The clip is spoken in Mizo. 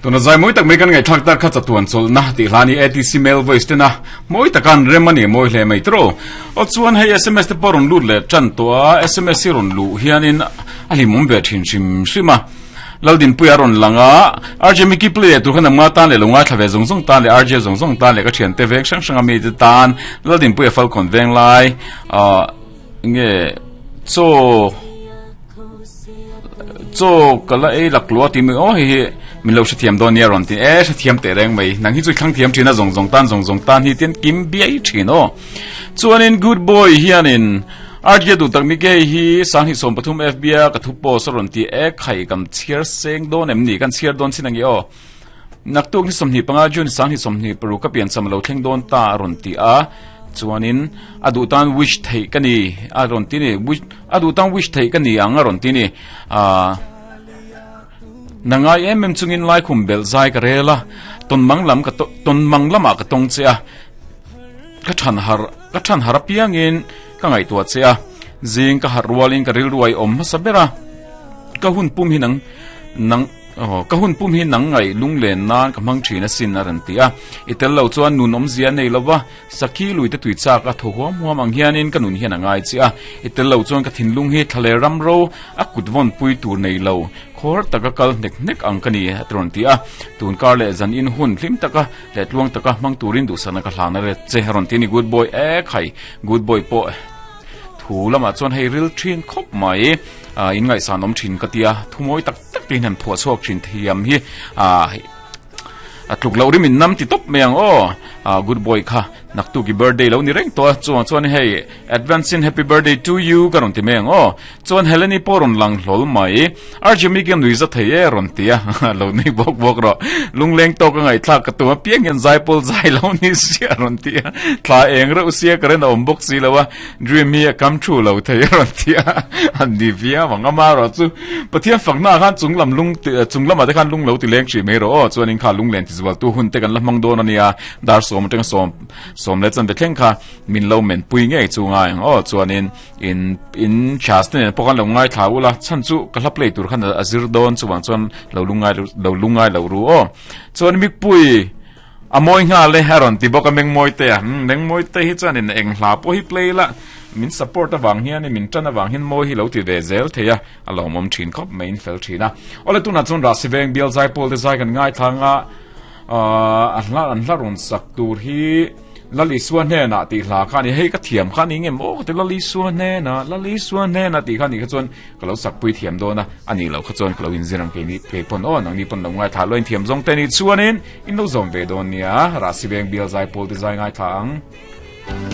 Tuna zai mawi tak mai kan ngaihthlak tak kha chatuan chawlhna tih hla a ni ATC Male Voice tena mawi taka an rem a ni mawi hle mai tawh. Aw chuan hei sms te pawh rawn lut leh tan tawh a, sms hi rawn luh hianin a hlimawm ve thin hrim hrim a. Laldinpuia rawn lang a, RJ Mickey play leh tur khan amnga tan leh lo ngaithla ve zawng zawng tan leh RJ zawng zawng tan leh ka thiante veng hrang hrang a mite tan Laldinpuia Falkawn veng lai ah nge chaw chaw ka la ei lak lua tih mai aw hei hi min lo hrethiam dawn nia rawn ti e hrethiam teh reng mai nang hi chu i thlang thiam thin a zawng zawng tan zawng zawng tan hi tian kim biai thin aw chuanin good boy hianin RJ duh tak mi ke hi 2013 FB a ka thu post a rawn ti e khai kam chhiar seng dawn em ni kan chhiar dawn chin angi aw Naktuk ni 25 June 2026 ka piancham a lo thleng dawn ta a rawn ti a, chuanin a duh tan wish theih ka ni a rawn ti ni, wish a duh tan wish theih ka ni ang a rawn ti ni. Aaa na ngai em em chungin laikhum belh zai ka rel a, tawn mang lam ka tawn mang lamah ka tawng che a, ka than har ka than har apiangin ka ngaihtuah che a, zing ka harh rualin ka rilru a i awm hmasa ber a, ka hun pum hi nang nang. Aw, ka hun pum hi nang ngaih lunglen nan ka hmang thin asin a rawn ti a. I tel lo chuan nun awmzia a nei lo va, sakhi lui te tui chak a thaw huam huam ang hianin ka nun hian a ngai chiah a. I tel lo chuan ka thinlung hi thla leh ram ro a kut vawn pui tur nei lo, khawr taka kal hnek hnek ang ka ni a ti rawn ti a. Tun kar leh zan in hun hlim taka leh tluang taka hmang turin duhsakna ka hlan a ret che a rawn ti a ni Good boy e khai, good boy pawh thu lamah chuan hei ril thin khawp mai, in ngaihsan awm thin ka tia, thu mawi tak. Tak te hian phuah chhuak thin thiam hi ah a tluk loh rim in nam ti tawp mai ang aw ah good boy kha naktuk i birthday lo ni reng tawh a chuang chuan hei advance in happy birthday to you ka rawn ti mai ang aw chuan Heleni pawh rawn lang hlawl mai RJ Mickey nui za thei e rawn ti a lo nui bawk bawk rawh lungleng tawk a ngaihthlak ka tum a piang hian zaipawl zai lo ni sia rawn ti a thla eng reuh sia ka ren a awm bawk si lo a Dream hi a come true lo thei a rawn ti a, an ni viau ang. Amaherawh chu Pathian fakna ah khan chung lam lung chung lamah te khan lung lo ti leng hrih mai rawh aw. Chuanin kha lunglen ti zualtu hun te kan la hmang dawn a nia. Dar sawm atanga sawm sawm leh chanve thleng kha min lo men pui ngei chu ngai ang aw. Chuanin in in chhas te nen pawh khan lo ngaithla ula chhan chu ka hla play tur khan a zir dawn chuvang chuan lo lungngai lo lungngai lo ru aw. Chuan Mikpui. A mawi nghal e, a rawn ti bawk a Mengmawite a. Umm, Mengmawite hi chuanin eng hla pawh hi play la, min support avang hianin, min tan avang hian mawi hi lo ti ve zel thei a, a lawmawm thin khawp mai in fel thin a. Awle tunah chuan Rahsi Veng bial zaipawl te zai kan ngaithlang a, aah a hla an hla rawn sak tur hi Lal Isua hnenah tih hla kha a ni, hei ka thiam kha a ni ngem aw ka ti Lal Isua hnenah, Lal Isua hnenah tih kha a nih kha chuan Ka lo sak pui thiam dawn a, a nih loh kha chuan ka lo inzir ang keini kei pawn aw, nangni pawn lo ngaithla lo inthiam zawng te nih chuanin in lo zawm ve dawn nia, Rahsi Veng bial zai pawl te zai ngaithla ang.